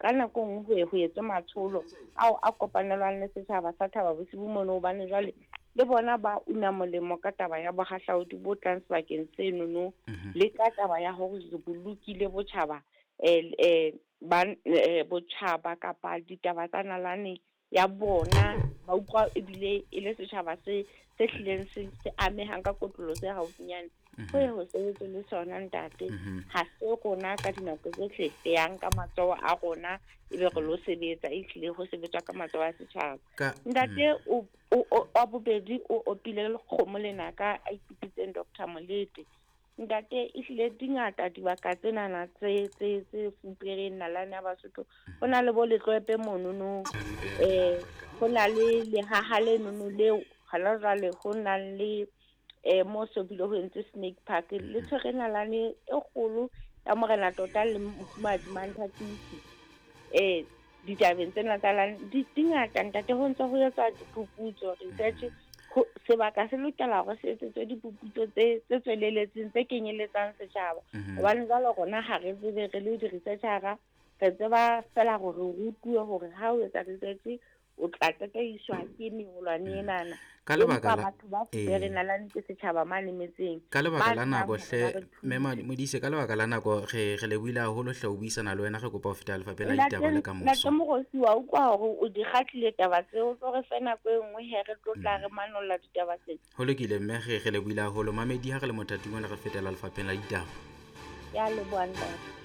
Ka nako e nngwe ho ye ho etswe matsholo ao a kopanelwang le setjhaba sa Thaba Bosiu mono hobane jwale le bona ba una molemo ka taba ya bohahlaudi bo tlang sebakeng senono le ka taba ya hore re bolokile botjhaba ba botjhaba kapa ditaba tsa nalane ya bona ba utlwa ebile e le setjhaba se se hlileng se se amehang ka kotlolo se haufinyane. Ho ye ho sebetswe le sona ntate. Ha se rona ka dinako tsohle re yang ka matsoho a rona ebe re lo sebetsa, ehlile ho sebetswa ka matsoho a setjhaba. Ntate o wa bobedi o opile lekgomo lenaka a ipitsitseng Doctor Molete. Ntate ehlile di ngata dibaka tsenana tse tse tse fupereng nalane ya Basotho. Ho na le bo Letloepe monono, ho na le lehaha lenono leo hona jwale ho nang le mo so bile ho entswe Snake Park. Le tshwere nalane e kgolo ya morena tota le mofumahadi Manthatisi. Ditabeng tsena tsa di ngata ntate, ho ntse ho etswa diphuputso, research. Sebaka se lokela hore se etsetswe diphuputso tse tse tsweleletseng tse kenyelletsang setjhaba. Hobane jwale rona ha re tsebe re le di-researcher-a, re tseba feela hore re rutuwe hore ha o etsa research o tla tataiswa ke meholwane enana. Ka lebaka Empa la batho ba fupere nalane ke setjhaba mane metseng. Ka lebaka Ba la tsebang nako hore hle ba re mme thuse. Modise, ka lebaka la nako re re lebohile haholo hle ho buisana le wena, re kopa ho feta lefapheng la ditaba le Ntate kamoso. Mokgosi wa utlwa hore o di kgatlile taba tseo, o tlo re fe nako e nngwe he re tlo tla re manolla ditaba tsena. Ho lokile mme re re lebohile haholo. Mamedi ha re le mothating ona re fetela lefapheng la ditaba. Ke a leboha ntate.